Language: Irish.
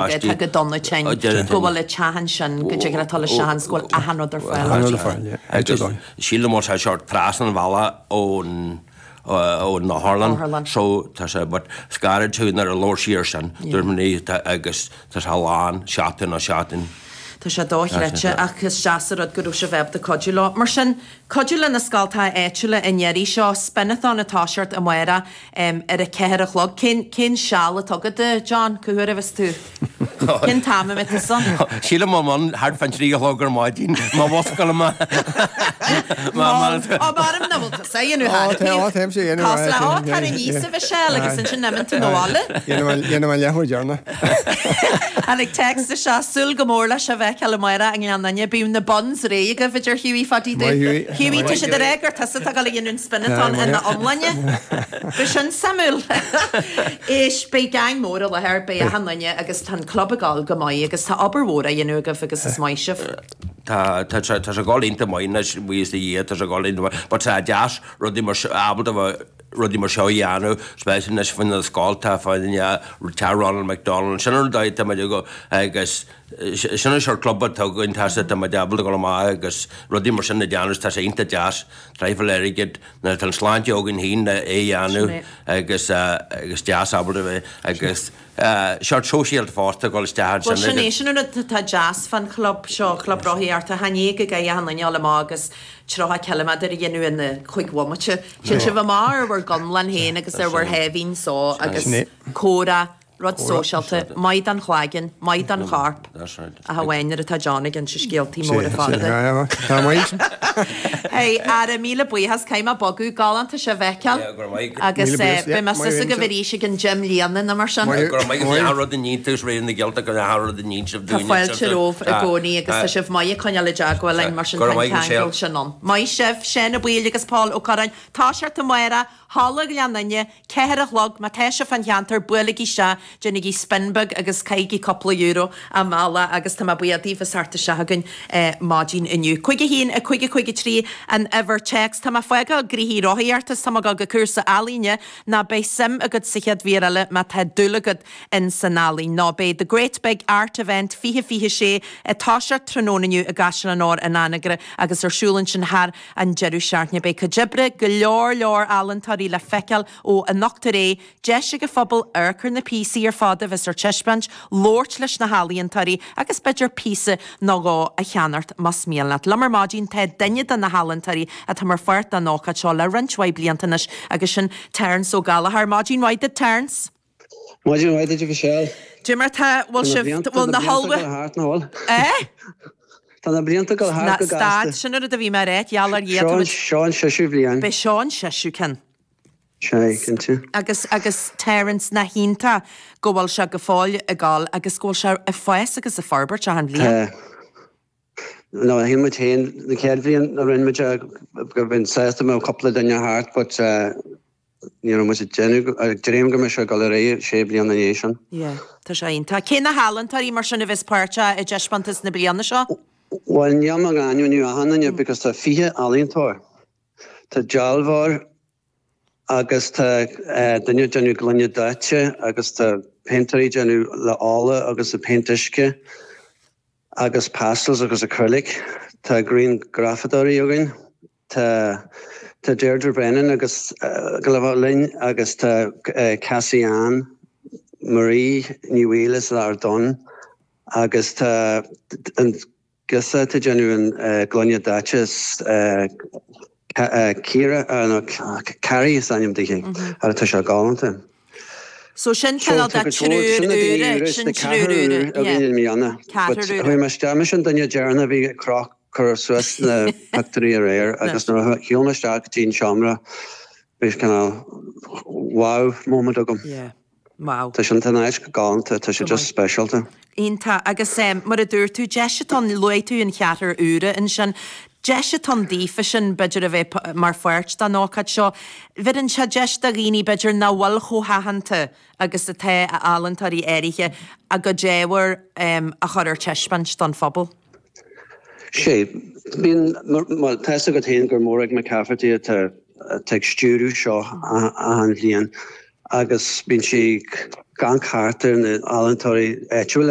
Atá go dona tinn, go bhfuil an teach ansin, go dtig leat dul isteach ann 's go bhfuil achan rud ar fáil. Achan rud ar fáil, yeah. Áit ar dóigh. Sílim go bhfuil sé sort trasna an bhealaigh ón ón otharlann so tá sé but scaradh tú nuair a labhair sí ar sin dúirt mé tá agus tá sé lán seachtain ó seachtain. Tá sé dochreidte ach is deas an rud go raibh sibh ábalta cuidiú leo. Mar sin, cuidiú le na scoltacha áitiúla an iarraidh seo, Spinathon ag toiseacht amárach ar a ceathair a chlog. Cén, cén seal atá agat, a John? Cá huair a bheas tú? Cén t-am a mbeidh tusa ann? Sílim I'm ann thart fán trí a chlog ar maidin, má mhuscail mé. Má, ó b'fhearr nach bhfuil tusa a dhéanamh thar Ó, tá, táimse a dhéanamh. Tá, ó, tar aníos, a Mhichelle, agus ansin imíonn tú 'na bhaile. Dhéanfaidh mé an leathuair deireanach. Tháinig téacs isteach, súil go mór le sibh a fheiceáil amárach i nGleann Fhinne. Bíodh na buns réidh agaibh, a deir Hughie Phadaí Dubh. Maith Hughie. Hughie, tá siad ag rá gur tusa atá ag dul a dhéanamh an spinathon ina iomláine. Bheadh sin suimiúil. Éist, beidh gang mór i láthair, beidh achan duine agus tá an club ag dul go maith agus tá obair mhór á dhéanamh agaibh agus is maith sibh. Tá, tá sé, tá sé ag dul iontach maith anois, buíochas do Dhia, tá sé ag dul iontach maith. But tá deas rudaí mar seo, ábalta a bheith, rudaí mar seo a dhéanamh, especially anois faoi na scoltacha, fá teach Ronald McDonald, sin an dóigh atá muid ag, agus sin an sort club atá againn, tá sé, tá muid ábalta dul amach agus rudaí mar sin a dhéanamh, tá sé iontach deas, traidhfil airgid, nuair atá an sláinte againn féin le é a dhéanamh agus agus deas ábalta a bheith agus sort sóisialta fosta dul isteach Bhuel ansin sin é, agus. sin an rud atá deas fán chlub seo, Club Rothaíochta, chan é go gcaithfidh achan duine a dhul amach agus 30 ciliméadar a dhéanamh ina chúig bhomaite. Téann sibh amach ar bhur gconlán féin agus ar bhur sháimhín só agus comhrá, rud sóisialta, maith don chlaigeann, maith don chorp. Ach amháin nuair atá John ag inse scéaltaí móra fada. Tá maith. Hey, ara, míle buíochas, caithfidh mé bogadh, galánta sibh a fheiceáil agus beidh mé suas agaibh arís ag an gym líonadh nó mar sin. Go raibh maith agat, rud a níonn tú, is réidh na Gaeltacht go raibh rud a níonn sibh Tá dúinne. fáilte romhaibh i gcónaí agus tá sibh maith ag coinneáil i dteagmháil linn mar sin Go tá raibh an maith agat, ceangal Michelle. sin ann. Maith sibh, Seán Ó Baoill agus Pól Ó Curráin, toiseacht amárach, Halla Ghleann Fhinne, Ceathair a chlog, má tá sibh fán cheantar, buailigí isteach, déanaigí spin beag agus caithigí cúpla euro i mbealach agus tá mé buíoch daoibh as theacht isteach chugainn maidin inniu. 5 1 5 5 3 an uimhir téacs. Tá mé ag fágáil gnoithí rothaíochta is tá mé ag dul go cúrsa ealaíne, nó beidh suim agat sa chéad mhír eile má tá dúil agat in san ealaín. Nó beidh The Great Big Art Event 2026 ag toiseacht tráthnóna inniu i gCaisleán Óir in Anagaire agus ar siúl ansin thar an deireadh seachtaine. Beidh cuid oibre go leor leor ealaíontóirí le feiceáil ó anocht ar aghaidh, deis ag an phobal amharc ar na píosaí ar fad a bheas ar taispeáint, labhairt leis na healaíontóirí agus b'fhéidir píosa nó dhó a cheannacht más mian leat. Liom ar maidin tá duine de na healaíontóirí atá mar pháirt den ócáid seo le roinnt mhaith blianta anois agus sin Terence Ó Gallchóir. Maidin mhaith duit Terence. Maidin mhaith duit a Mhichelle. Cad é mar tá, bhfuil sibh, bhfuil na hullmhú. Eh? Tá na blianta ag dul thart go gasta. Stad, sin an rud a bhí mé a ráit, gheall ar Dhia. Seo an seisiú bhliain. B'é seo an seisiú ceann. Sea, cinnte. Agus, agus Terence, nach iontach go bhfuil sé go fóill ag dul agus go bhfuil sé ag fás agus ag forbairt achan bhliain. Tá. No, shíl muid féin, na chéad bhliain a rinne muid é, go mbeinn sásta go mbeadh cúpla duine thart but ní raibh muid ag déanamh, ag dréim go mbeadh sé ag dul ar aghaidh sé bliana ina dhiaidh sin. Yeah, tá sé iontach. Cé na healaíontóirí mar sin a bheas páirteach i dtaispeántas na bliana seo? Bhuel, níl mé ag ainmniú achan duine because tá 20 ealaíontóir. Tá dealbhóir agus tá duine ag déanamh gloine daite agus tá péintéirí ag déanamh le ola agus le péint uisce. agus pastels agus acrylic. Tá grianghrafadóirí againn. Tá tá Deirdre Brennan agus go le bheith linn agus tá Cassie Ann Marie Ní Bhaoill as Ardún agus tá an girseach atá ag déanamh an gloine daite Ciara, nó Carrie is ainm di, agus tá sé galánta. So sin cineál de triúr úra, sin triúr úra, yeah. Ceathrar úra. Chuaigh mé isteach, mise an duine deireanach a bhí ag croch, cur suas na pictiúirí aréir agus nuair a shiúil mé isteach go dtí an seomra bhí cineál wow moment agam. Yeah. Wow. Tá sé an áit go galánta, tá sé just speisialta. Iontach. Agus mar a dúirt tú, deis atá ann, luaigh tú an cheathrar úra ansin, deis atá ann daofa sin b'fhéidir a bheith mar pháirt den ócáid seo. Bheireann sé deis do dhaoine b'fhéidir nach bhfuil chomh haitheanta agus atá ealaíontóirí áirithe a gcuid ábhair a chur ar taispeáint don phobal. Sea, bíonn, bhuel, tá fhios agat féin gur Mòrag McCafferty atá ag stiúradh seo achan bhliain agus bíonn sí ag. Ag amharc thart ar na ealaíontóirí áitiúla.